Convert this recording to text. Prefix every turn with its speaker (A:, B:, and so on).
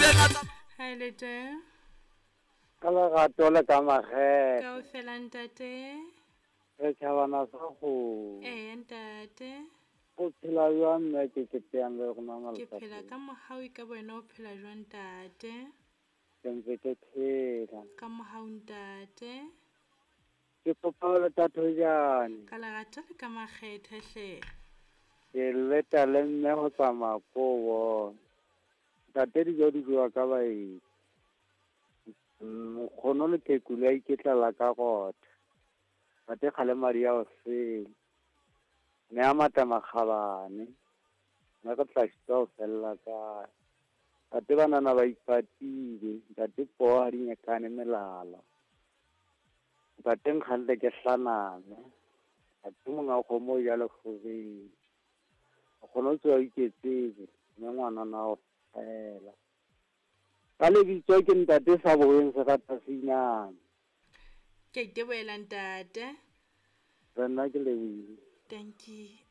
A: Ha e le teng.
B: Ka lerato le ka makgethe.
A: Kaofela ntate.
B: Re tjhabana sa kgomo.
A: Eya ntate.
B: O phela jwang mme ke keteyang le rona
A: Ke phela ka mohau e ka wena o phela jwang ntate?
B: Ke ntse ke phela.
A: Ka mohau ntate.
B: Ke kopa le Thatoejane.
A: Ka lerato le ka makgethe hle.
B: Ke leta le mme ho tsamaya ko bona. Ntate dijo di jewa ka baeti. Nkgono le Kekule a iketlala ka rotha. Ntate kgale madi a o sele. Mme a mata makgabane. Mme re tla šitwa ho fella kae. Ntate banana ba ipatile. Ntate poo ha di nyekane melala. Ntate nkgantle ke hlaname. Ntate monga kgomo o ja lekgobeng. Nkgono o tsoha o iketsetse, mme ngwanana o fela. Ka lebitso ke ntate sa boeng serata seinane.
A: Ke a itebohela ntate.
B: Le nna ke lebohile.
A: Dankie.